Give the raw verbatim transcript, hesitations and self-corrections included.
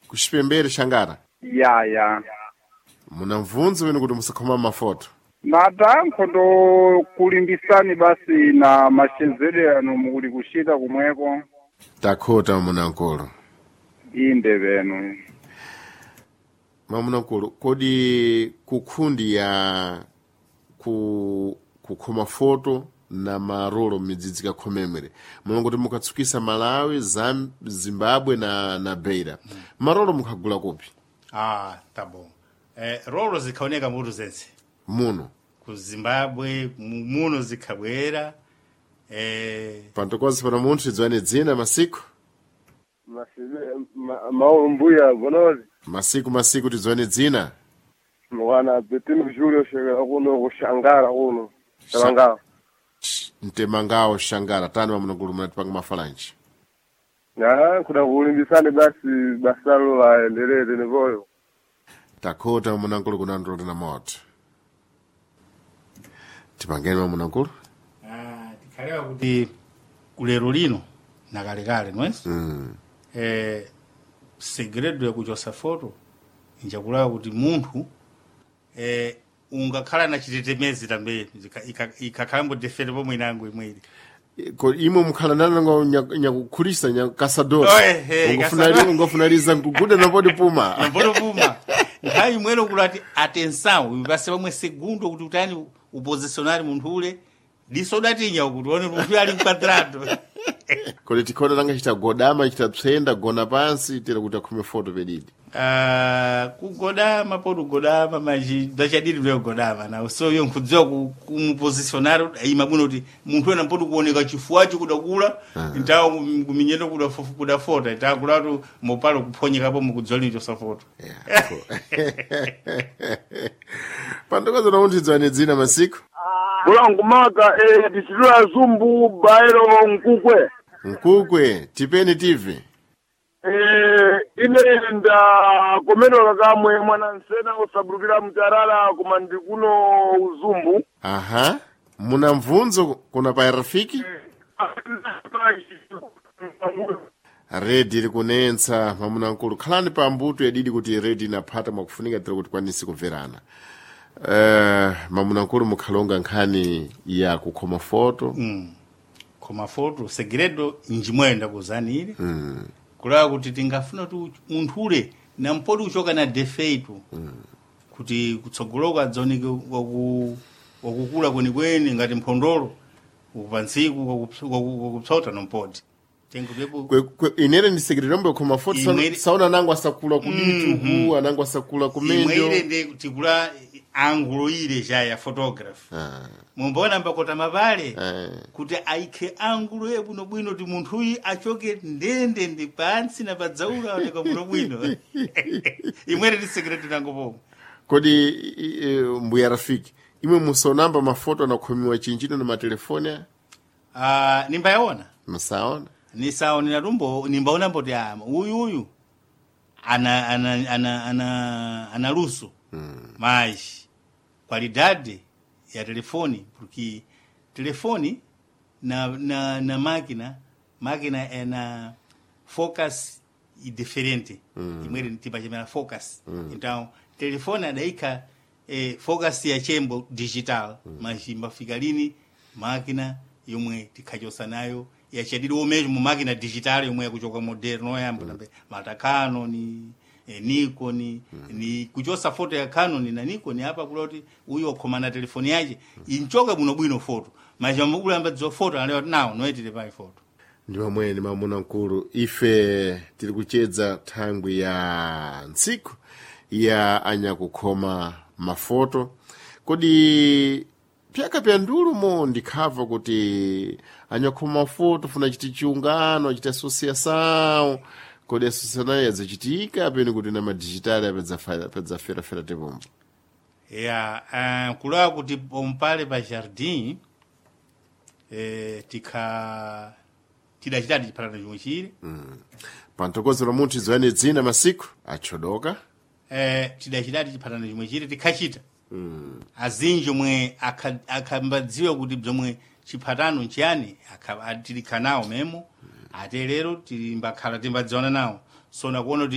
Kuxipembere Xangara. Ya ya. Muna mvunzo wenu kuti musakhoma mafoto. Natankho ndo kulimbisani basi na maxenzedwe ano mukuli kuxita kumweko. Takhota mamunankulu. Inde benu. Mamunankulu, kodi kukhundi ya ku kukhoma foto na marolo m'midzidzi kakhomemwere mulongo mukatsukisa Malawi, Zam, Zimbabwe na, na Beira mm. Marolo mukhagula kupi? Ah, tá bom. Eh, rolo zikhaoneka mutu zense Muno ku Zimbabwe mu- muno zikhabwera eh, pantokozi pano munthu idziwane dzina masiku Mauro Mbuya Bonozi masiku masiku tidziwane dzina mwana Betino Julio shekera kuno kushangara kuno Talangawo Sh- mtemangawo Shangara tani mamunankulu munatipanga mafalanji na kuda kulimbisani basi basalo laendelele nivoyo takhota mamunankulu kunanduloti na moto tipangeni mamunankulu ah, tikhalewa kuti kulero lino na kalekale nwes mm. eh, segredo yakuchosa foto njakulawa kuti munthu eh, ungakhala na chitetemezi tambe ikakhalambo defete pomwe inango imweri Ko imwe mukhala nanango nyakukhulisa nyakasadora Oe, eh, kasadora. ungofunaliza nkuguda napodi puma nampotopuma nthawi imwero kulati atenção ipase pamwe segundo kuti utani upositionari munthu ule diso udatinya kuti one munthu ali mquadrado kodi tikhona nanga chita godama chita psenda gona pansi tera kuti akhume foto pedidi Ah, kugodama poti ugodama maji bzachadiri bzakugodama nawo so iyo nkudziwa ku- kumupositionari ima bwino kuti munthu wena mpoti kuoneka chifuwacho kudakula ntawo kuminyendo kudafu- kudafota ntakulatu mopalo kuphonyekapo mukudziwa lini chosafoto Yeah, cool. pantokoza namunthu idziwane dzina masiku bulangu maka eh, dichitula zumbu bairo nkukwe mkukwe tipeni tv eh, ine nda komenoka kamwe mwana nsena usabulukira mtarala koma ndi kuno uzumbu aha muna mvunzo kuna pa rafiki redi iri kunentsa mamunankulu khalani pa mbuto yadidi kuti redi inaphata mwakufunika tiri kuti kwanisi kubverana uh, mamunankulu mukhalonga nkhani ya kukhoma foto mm. koma foto segredo njimweyo ndakuzanire mm. kulawa kuti tingafuna kuti munthu ule nampoti kuchoka na defeito mm. kuti kutsogoloko adzaoneke waku- wakukula kwenikweni ngati mphondolo upantsiku wakupsota nompoti tengutepo Kwe- kwe- inere ndi segredo yomwe kukhoma foto saona- Imwe- saona anango asakula kuditu anango asakula imwe kumendo ile ndi tikula angulo ile ja ya photography Ah, mumbona mbakota mapale eh. kuti aikhe angulo yabwinobwino kuti munthuyu achoke ndendende pansi na padzaula aoneka bwinobwino imwere ndi secret nango pomwe kodi i- i- mbuya rafiki imwe musaonamba mafoto anakhomiwa chinjino na matelefoni aya? Ah, nimbayaona musaona nisaonera tumbo nimbaona mboti ama uyu uyu ana ana ana ana ana luso mm. mas qualidade ya telefone porque telefone na na na máquina máquina é na focus e diferente mm. imwere tipachemera focus mm. então telefone adaika eh, focus ya chembo digital mm. mas imbafika lini máquina yomwe tikhachosa nayo yachadiri omezho mu máquina digital yomwe yakuchoka moderno yambo mm. mata Canon eh, Nikon mm. ni kuchosa foto ya Canon na Nikon apa kula kuti uyo okhoma na telefoni yache inchoka bwino bwino foto mas amukula ambadziwa foto alewa nawo noyitire pai foto ndi pamwene mamuna mkulu ife tiri kuchedza thangwi ya ntsiku ya anyakukhoma mafoto kodi pyaka pya ndulumo ndikhava kuti anyakukhoma mafoto funa chiti chiungano achiti asosiação kodi asosiação yadzachitika pene kuti na madijitali apedzaferafera tipombo ya uh, kulawa kuti pompale pa jardim eh, tikha tidachitadi chiphatano chomwe chili pantokozo la munthu idziwane dzina masiku achodoka eh, tidachitadi chiphatano chomwe chili tikhachita mm. azinji omwe akha- akhambadziwa kuti bzomwe chiphatano nchiyani akha- a- tilikha nawo memo ate lero tilimbakhala timbadziwana nawo sona kuona kuti